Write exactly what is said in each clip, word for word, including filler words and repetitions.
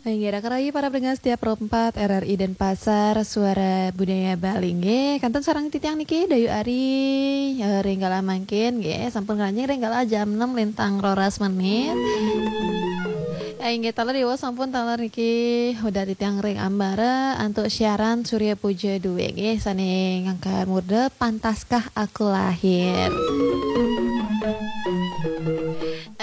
Inggih, raka rayi para pendengar setia Pro empat R R I Denpasar, Suara Budaya Bali. Inggih, kantun sareng titiang niki Dayu Ari, eh, ring galah mangkin nggih, sampun ngranjing ring galah jam enam lintang roras menit. Eh, inggih, taler iwa sampun taler niki udah titiang ring ambara antuk siaran Surya Puja dua nggih, sane ngangkat murda Pantaskah Aku Lahir.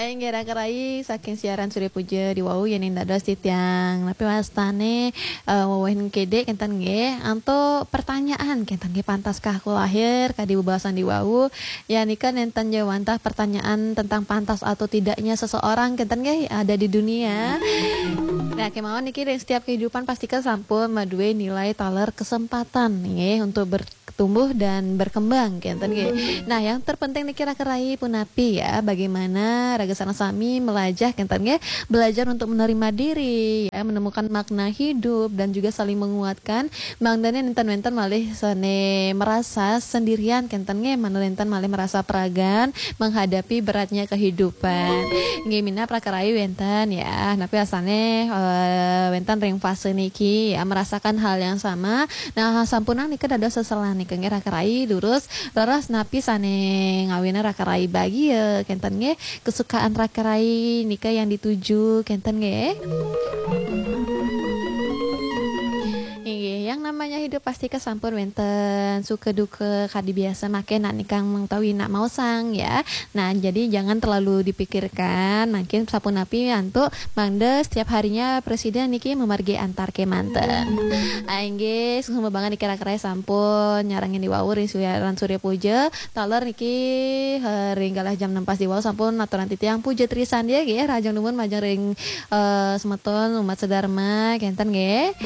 Inggih, raka rayi, saking siaran Surya Puja di wau, yening dados titiang napi wastane, eh, wewehin kedik kenten nggih, antuk pertanyaan kenten nggih, pantaskah aku lahir, kadi bebaosan di wau. Ya, nika nenten jawantah pertanyaan tentang pantas atau tidaknya seseorang kenten nggih ada di dunia. Nah, kemawon niki ring setiap kehidupan pastika sampun madue nilai taler kesempatan nggih untuk ber- tumbuh dan berkembang kenten nggih. Nah, yang terpenting niki raka rayi punapi ya, bagaimana raga sareng sami melajah kenten nggih, belajar untuk menerima diri ya, menemukan makna hidup dan juga saling menguatkan. Mangdane nenten-nenten malih sane merasa sendirian kenten nggih, mangda nenten malih merasa peragan menghadapi beratnya kehidupan. Nggih minab raka rayi wenten ya, napi asane, eh, wenten ring fase niki ya, merasakan hal yang sama. Nah, sampunang nika dados seselan nika nggih raka rayi, durus leres napi sane ngawinang raka rayi bagia kenten nggih, kesukaan raka rayi nika yang dituju kenten nggih. Inggih, yang namanya hidup pasti kesampun wenten suka duka kadi biasa mangkin nak nikang mengetahui nak maosang ya. Nah, jadi jangan terlalu dipikirkan. Mangkin sapunapi antuk mangda setiap harinya presiden niki memargi antar kemanten. Ah, inggih, suksma banget niki raka rayi sampun nyarengin di wau ring siaran Surya Puja. Taler niki, eh, ring galah jam enam pas di wau sampun aturang titiang puja trisandia nggih, rahajeng dumun majeng ring, eh, semeton umat sedharma kenten nggih.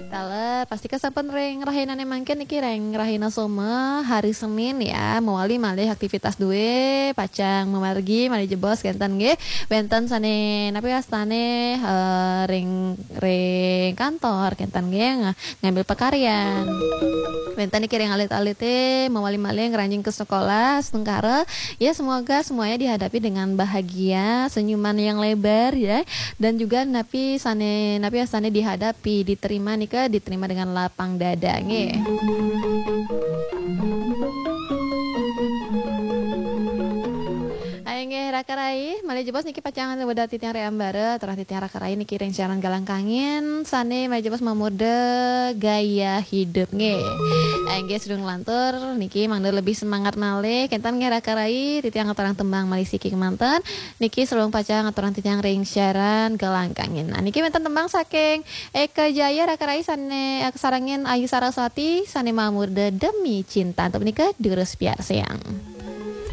Taler, pastika sampun ring rahinane mangkin niki ring rahina Soma, hari Senin ya, mawali malih aktivitas due, pacang mamargi malih jebos kenten nggih. Wenten sane napi wastane, eh, ring, ring kantor kenten nggih, nga-, ngambil pakaryan. Wenten niki ring alit-alite mawali malih ngranjing ke sekolah, astungkara. Ya, semoga semuanya dihadapi dengan bahagia, senyuman yang lebar ya. Dan juga napi sane, napi sane dihadapi, diterima nika diterima dengan lapang dada nggih. Ayo nggih raka rayi, malih jebos niki pacang weda titiang ring ambara, aturang titiang raka rayi niki ring siaran Galang Kangin, sane malih jebos mamurda gaya hidup nggih. Ayo nggih, sedurung lantur niki mangda lebih semangat malih, kenten nggih raka rayi, titiang aturang tembang malih siki kemanten. Niki sedurung pacang aturang titiang ring siaran Galang Kangin. Nah, niki wenten tembang saking Eka Jaya raka rayi sane, eh, kasarengin Ayu Saraswati sane mamurda Demi Cinta. Antuk menika durus piarsayang.